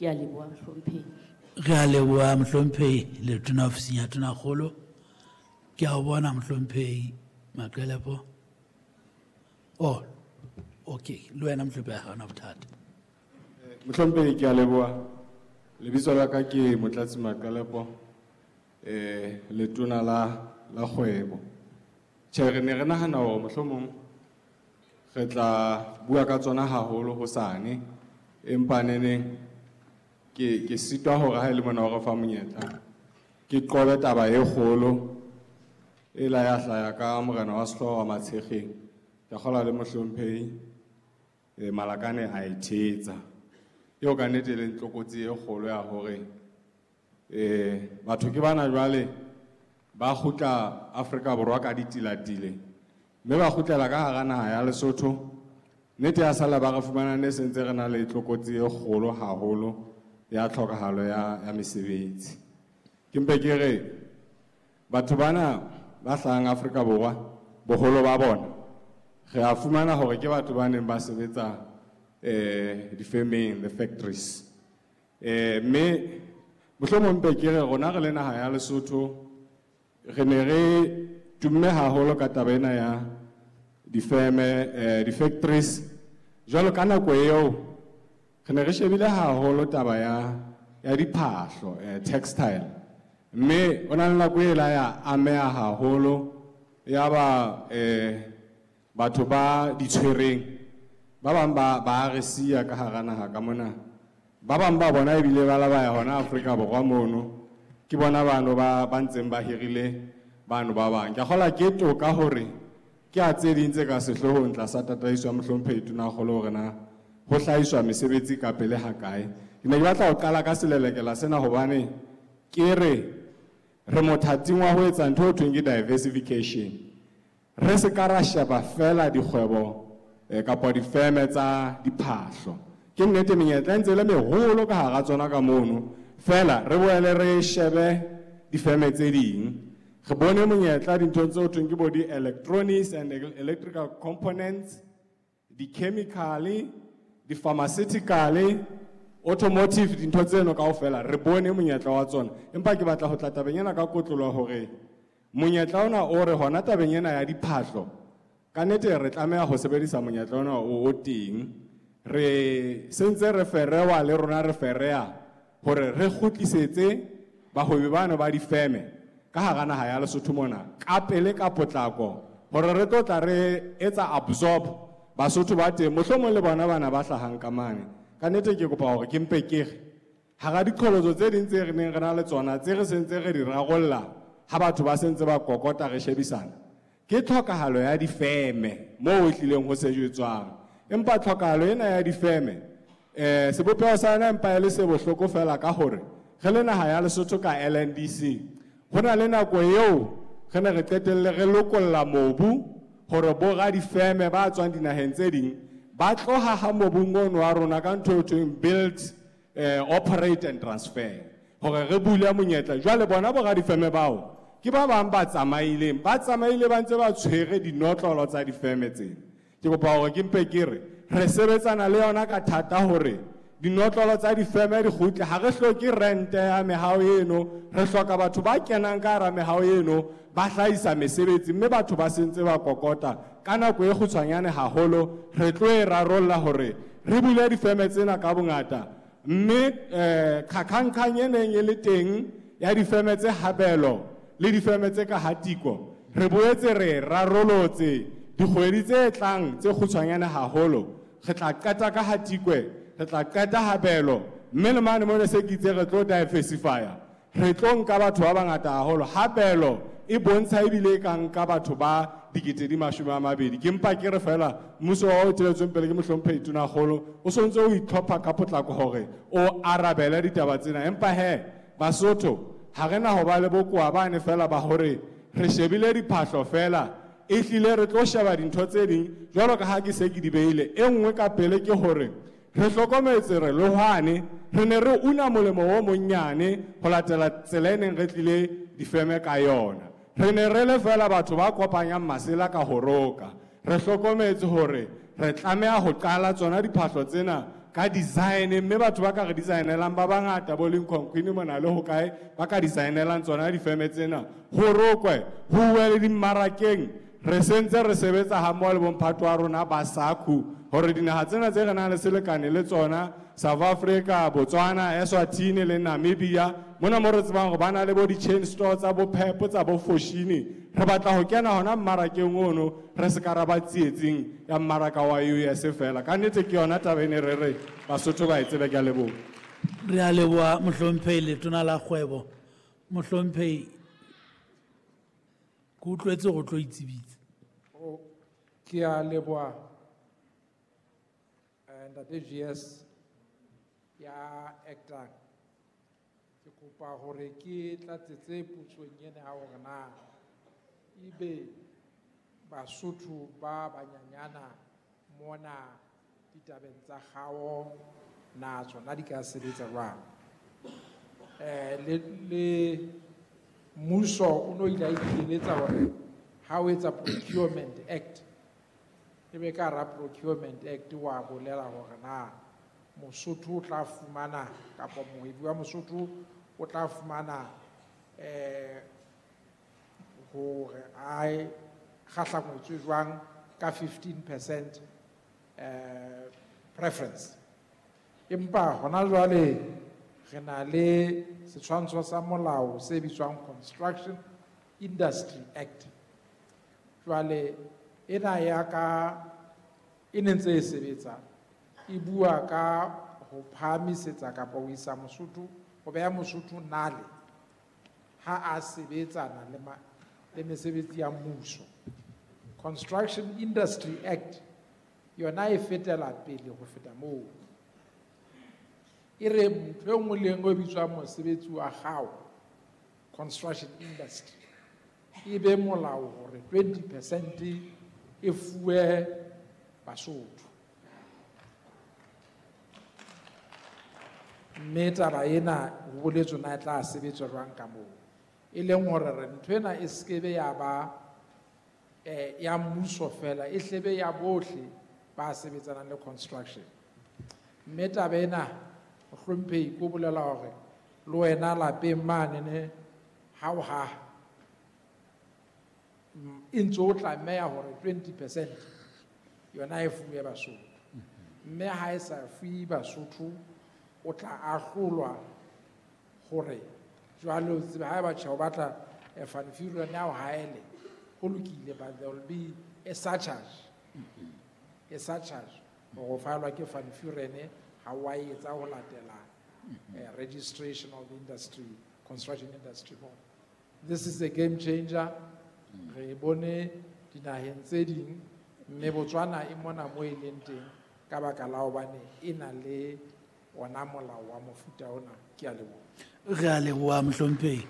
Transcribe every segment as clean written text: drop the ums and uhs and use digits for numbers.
Ke a leboha, mohlomphehi. Re a leboha, mohlomphehi Letona, ofising ya Tonakgolo. Ke a o bona, mohlomphehi Maqelepo. Oh, okay, le wena mohlomphehi, ha hona bothata. Mohlomphehi, ke a leboha. Lebitso la ka ke Motlatsi Maqelepo, letona la kgwebo. Tjhe, re ne re nahana hore mohlomong re tla bua ka tsona haholo hosane, empa neneng ke sitwa hore ha e le mona o re fa monyetla ke qobe taba e kgolo e la ya hlaya ka morena wa sehlooho wa Matshekgeng. Ke kgolwa le mohlomphehi Malakane a e thetsa. Eo ka nnete e leng tlokotsi e kgolo ya hore batho ke bana jwale ba kgutla Afrika Borwa ka ditilatile, mme ba kgutlela ka hara naha ya Lesotho. Nnete ya sala ba re fumana ne sentse re na le tlokotsi e kgolo haholo ya tlhokahalo ya mesebetsi. Ke mpe ke re batho bana ba hlahang Afrika Borwa, boholo ba bona re a fumana hore ke batho ba neng ba sebetsa difemeng, the factories. Mme mohlomong mpe ke re rona re le naha ya Lesotho re ne re tumme haholo ka taba ena ya difeme, di-factories. Jwalo ka nako eo re ne re shebile haholo taba ya diphahlo, textile. Mme o na le nako e la ya ameha haholo ya ba batho ba di tshwereng ba bang ba re siya ka hara naha ka mona, ba bang ba bona ebile ba la ba ya hona Afrika Borwa mono, ke bona bano ba ntseng ba hirile bano ba bang. Ke a kgolwa ke toka hore ke a tse ding tse ka sehloohong tlasa tataiso ya mohlomphehi Tonakgolo hore na ho hlahiswa mesebetsi ka pele ha kae. Ke ne ke batla ho qala ka selelekela sena hobane ke re re mothating wa ho etsa ntho e thweng ke diversification. Re se ka ra sheba fela dikgwebo kapa difeme tsa diphahlo. Ke nnete menyetla e ntse e le meholo ka hara tsona ka mono, fela re boele re shebe difeme tse ding. Re bone monyetla dinthong tse ho thweng ke bo di-electronics and electrical components, di-chemical, di-pharmaceutical, automotive, dintho tseno kaofela re bone monyetla wa tsona. Empa ke batla ho tla tabeng ena ka kotlolo hore monyetla ona o re hona tabeng ena ya diphahlo, ka nnete re tlameha ho sebedisa monyetla ona o teng. Re sentse re ferewa le rona re fereha hore re kgutlisetse bahwebi bano ba difeme ka hara naha ya Lesotho mona ka pele ka potlako, hore re tlo tla re etsa absorb Basotho ba teng, mohlomong le bona bana ba hlahang ka mane. Ka nnete ke kopa hore ke mpe ke re hara diqholotso tse ding tse re neng re na le tsona tse re sentse re di rarolla ha batho ba sentse ba kokota re shebisana, ke tlhokahalo ya difeme moo e tlileng ho sejetswang. Empa tlhokahalo ena ya difeme, sebopeho sa yona empa e le se bohloko fela ka hore re le naha ya Lesotho ka LNDC, ho na le nako eo re ne re qetelle re lokolla mobu hore bo radifeme ba tswang dinaheng tse ding ba tloha ha mobung ono wa rona ka ntho e thweng build, operate and transfer, hore re bule monyetla. Jwale bona bo radifeme bao ke ba bang ba tsamaileng, ba tsamaile ba ntse ba tshwere dinotlolo tsa difeme tsena. Ke kopa hore ke mpe ke re re sebetsana le yona ka thata hore dinotlolo tsa difeme di kgutle. Ha re hloke rente ya mehao eno, re hloka batho ba kenang ka hara mehao eno ba hlahisa mesebetsi, mme batho ba sentse ba kokota ka nako e kgutshwanyane haholo. Re tlo e rarolla hore re bule difeme tsena ka bongata, mme qhaqhanqhang e neng e le teng ya difeme tse habelo le difeme tse ka hatiko, re boetse re rarolotse dikgwedi tse tlang tse kgutshwanyane haholo. Re tla qeta ka hatikwe, re tla qeta habelo, mme le mane mona se ke itse re tlo diversifya, re tlo nka batho ba bangata haholo. Habelo e bontsha ebile e ka nka batho ba 220,000. Ke mpa ke re fela mmuso wa o eteletsweng pele ke mohlomphehi Tonakgolo o sontse o itlhopha ka potlako hore o arabele ditaba tsena. Empa he Basotho ha re na ho ba le bokowa bane fela ba hore re shebile diphahlo fela, e hlile re tlo sheba dintho tse ding jwalo ka ha ke se ke di beile. E nngwe ka pele ke hore re hlokometse re le hwane re ne re una molemo o monnyane ho latela tsela e neng re tlile difeme ka yona. Re ne re le fela batho ba kopanyang masela ka ho roka. Re hlokometse hore re tlameha ho qala tsona diphahlo tsena ka design, mme batho ba ka re designelang ba bangata bo Lincoln Queen mona le hokae ba ka designelang tsona difeme tsena. Ho rokwe, ho uwe le dimmarakeng. Re sentse re sebetsa ha mmoho le bomphato wa rona ba SACU hore dinaha tsena tse re nang le selekane le tsona, South Africa, Botswana, Eswatini le Namibia, mona mo re tsebang hore ba na le bo di-chain store tsa bo Pep, tsa bo Foschini. Re batla ho kena hona mmarakeng ono, re se ka ra ba tsietsing ya mmaraka wa US fela. Ka nnete ke yona taba e ne re re Basotho ba e tsebe. Ke a leboha. Re a leboha mohlomphehi Letona la Kgwebo. Mohlomphehi, ke utlwetse go tlo itsebitsa. Ke a leboha, Ntate GS ya actang. Ke kopa hore ke tlatsetse potsong ena ya hore na ebe Basotho ba banyanyana mona ditabeng tsa kgao na tsona di ka sebetsa jwang. Le mmuso o no ile a ikeletsa hore ha o etsa Procurement Act, ebe ka hara Procurement Act wa bolela hore na Mosotho o tla fumana kapa mohwebi wa Mosotho o tla fumana hore a kgahlangwetswe jwang ka 15% preference. Empa hona jwale re na le setshwantsho sa molao se bitswang Construction Industry Act. Jwale ena ya ka e ne ntse e sebetsa, e bua ka ho phahamisetsa kapa ho isa Mosotho, ho beha Mosotho nale ha a sebetsana le mesebetsi ya mmuso. Construction Industry Act yona e fetela pele ho feta moo. E re ntho e nngwe le e nngwe e bitswang mosebetsi wa hao, construction industry, e be molao hore 20% e fuwe Basotho. Mme taba ena ho boletswe na e tla sebetswa jwang ka moo. E leng hore re ntho ena e skebe ya ba ya mmuso fela, e hlebe ya bohle ba sebetsanang le construction. Mme taba ena mohlomphehi ko bolela hore le wena lapeng mane ne ha o haha, e ntse o tlameha hore 20% yona e fuwe Basotho. Mme ha e sa fuwe Basotho, o tla ahlolwa hore jwale o tsebe ha eba tjhe o batla, Van Vuuren ya o haele, ho lokile, but there will be a surcharge. A surcharge. Hore o faelwa ke Van Vuuren ha o a etsa ho latela, registration of the industry, construction industry board. This is a game changer. Re bone dinaheng tse ding, mme Botswana e mona mo e leng teng ka baka la hobane e na le ona molao wa mofuta ona. Ke a leboha. Re a leboha mohlomphehi.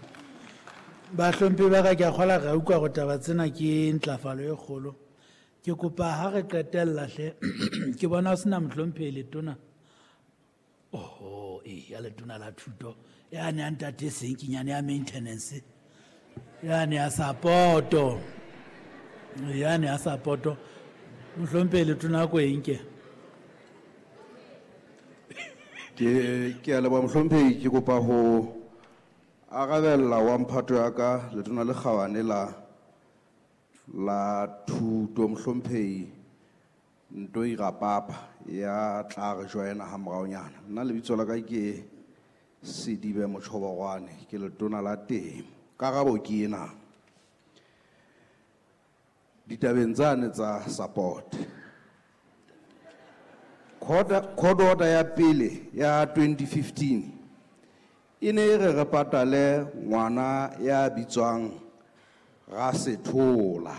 Bahlomphehi ba ka, ke a kgolwa re a utlwa hore taba tsena ke ntlafalo e kgolo. Ke kopa ha re qetella hle, ke bona ho sena mohlomphehi Letona. Oho, ya Letona la thuto. Yane ya ntate Senkinyane ya maintenance. Yane ya support-o. Yane ya support-o. Mohlomphehi Letona ko e nke. Ke a leboha mohlomphehi, ke kopa ho arabella wa mphato ya ka Letona le Kgabane la thuto mohlomphehi Ntoi Rapapa ya tla re joina ha moraonyana. Nna lebitso la ka ke Sedibe Motjhoborwane, ke Letona la Temo. Karabo ke ena. Ditabeng tsane tsa support. Court order ya pele ya 2015 e ne e re re patale ngwana ya bitswang Rasethola.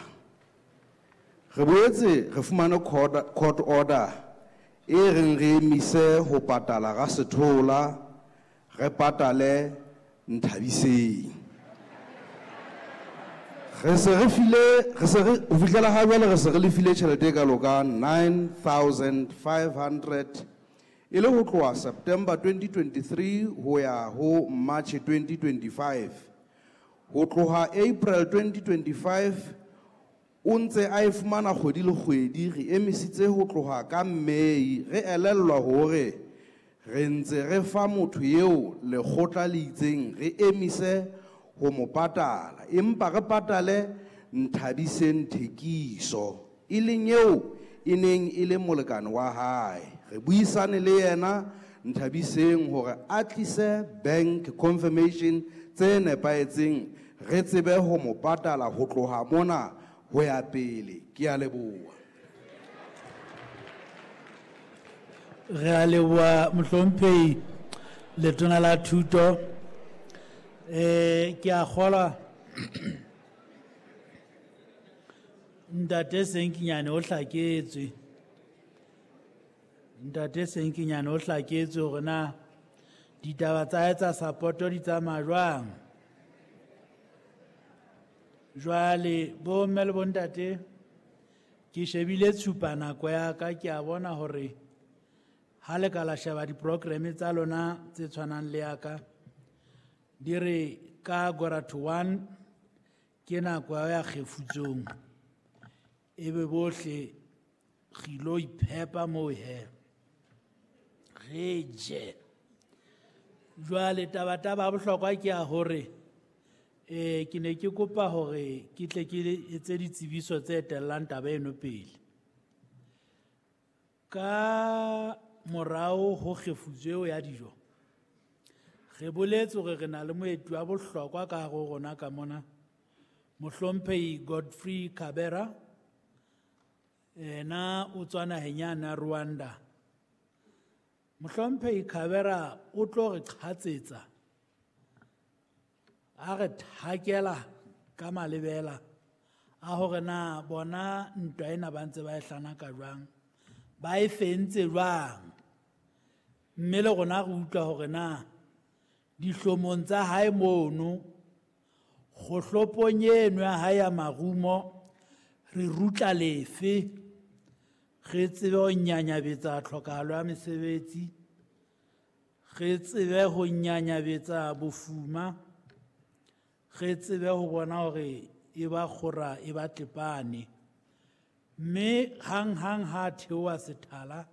Re boetse re fumane court order e reng re emise ho patala Rasethola, re patale Nthabiseng. Re se re file, re se re, ho fihlela ha jwale re se re lefile tjhelete e kalo ka 9,500 e le ho tloha September 2023 ho ya ho March 2025. Ho tloha April 2025 O ntse a e fumana kgwedi le kgwedi, re emisitse ho tloha ka May, re elellwa hore re ntse re fa motho eo lekgotla le itseng re emise ho mo patala, empa re patale Nthabiseng Thekiso, e leng eo e neng e le molekane wa hae. Re buisane le yena Nthabiseng hore a tlise bank confirmation tse nepahetseng re tsebe ho mo patala ho tloha mona ho ya pele. Ke a leboha. Re a leboha mohlomphehi letona la thuto. Ke a kgolwa ntate Senkinyane o hlaketswe. Ntate Senkinyane o hlaketswe hore na ditaba tsa hae tsa support-o di tsamaya jwang. Jwale bo mme le bontate, ke shebile tshupa nako ya ka, ke a bona hore ha le ka la sheba di-programme tsa lona tse tshwanang le ya ka, di re ka 12:45 ke nako ya kgefutsong. Ebe bohle re ilo iphepa moo he, re je. Jwale taba-taba ya bohlokwa ke ya hore ke ne ke kopa hore ke tle ke etse ditsebiso tse etellang taba eno pele. Ka morao ho kgefutso eo ya dijo, re boletse hore re na le moeti wa bohlokwa ka hare ho rona ka mona, Mohlomphehi Godfrey Kabera. Ena o tswa naheng yane ya Rwanda. Mohlomphehi Kabera o tlo re qhatsetsa, a re thakela ka malebela a hore na bona ntwa ena ba ntse ba e hlanaka jwang, ba e fentse jwang, mme le rona re utlwa hore na dihlomong tsa hae mono, kgohlopong eno ya hae ya marumo, re rutla lefe, re tsebe ho nyanyabetsa tlhokahalo ya mesebetsi, re tsebe ho nyanyabetsa bofuma, re tsebe ho bona hore e ba kgora e ba tlepane. Mme hang-hang ha theoha sethala,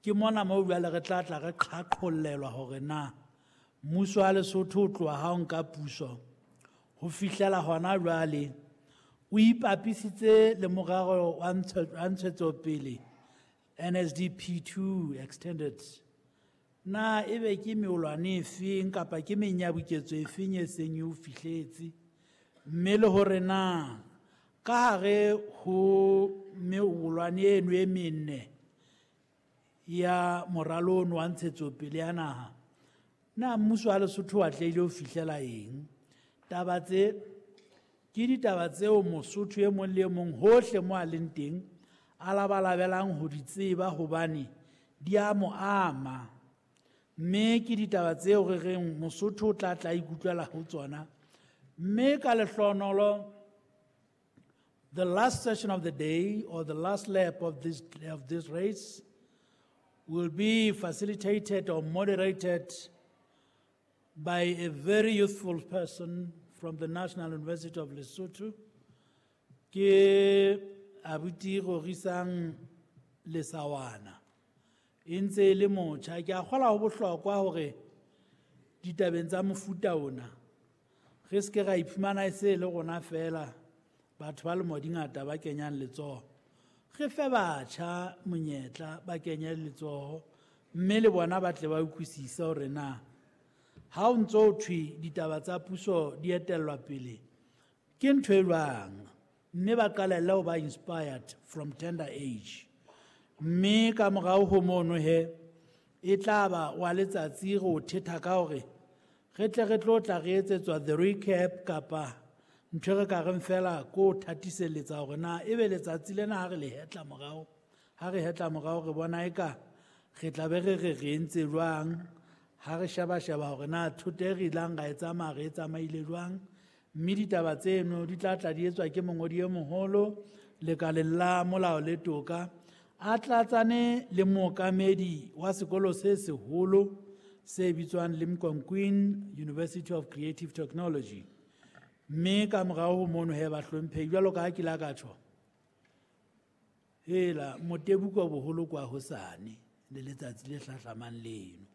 ke mona moo jwale re tla tla re qhaqhollelwa hore na mmuso wa Lesotho o tloha ha o nka puso ho fihlela hona jwale o ipapisitse le morero wa ntshetsopele NSDP 2 extended. Na ebe ke meolwane efeng kapa ke menyabuketso efeng e seng e o fihletse, mme le hore na ka hare ho meolwane eno e menne ya moralo ono wa ntshetsopele ya naha, na mmuso wa Lesotho o atlehile ho fihlela eng? Taba tse ke ditaba tseo Mosotho e mong le e mong hohle mo a leng teng a labalabelang ho di tseba hobane di a mo ama. Mme ke ditaba tseo re reng Mosotho o tla tla ikutlwela ho tsona. Mme ka lehlohonolo, the last session of the day or the last lap of this race will be facilitated or moderated by a very youthful person from the National University of Lesotho, ke abuti Rorisang Lesawana. E ntse e le motjha. Ke a kgolwa ho bohlokwa hore ditabeng tsa mofuta ona re se ke ra iphumana e se le rona fela batho ba lemo di ngata ba kenyang letsoho. Re fe batjha monyetla ba kenye letsoho, mme le bona ba tle ba utlwisise hore na ha o ntso o thwe ditaba tsa puso di etellwa pele ke ntho e jwang, mme ba qalelle ho ba inspired from tender age. Mme ka morao ho mono he, e tla ba wa letsatsi re o thetha ka hore re tle re tlo tla re etsetswa the recap kapa ntho e re ka reng fela ko thatiselletsa hore na ebe letsatsi lena ha re le hetla morao, ha re hetla morao re bona eka re tla be re re re entse jwang, ha re sheba-sheba hore na thoto e re ilang ra e tsamaya re e tsamaile jwang. Mme ditaba tseno di tla tla di etswa ke mongodi e moholo lekaleng la molao le toka, a tlatsane le mookamedi wa sekolo se seholo se bitswang Limkokwing University of Creative Technology. Mme ka morao ho mono he bahlomphehi, jwalo ka ha ke la ka tjho, hela motebuko boholo kwa hosane le letsatsi le hlahlamang leno.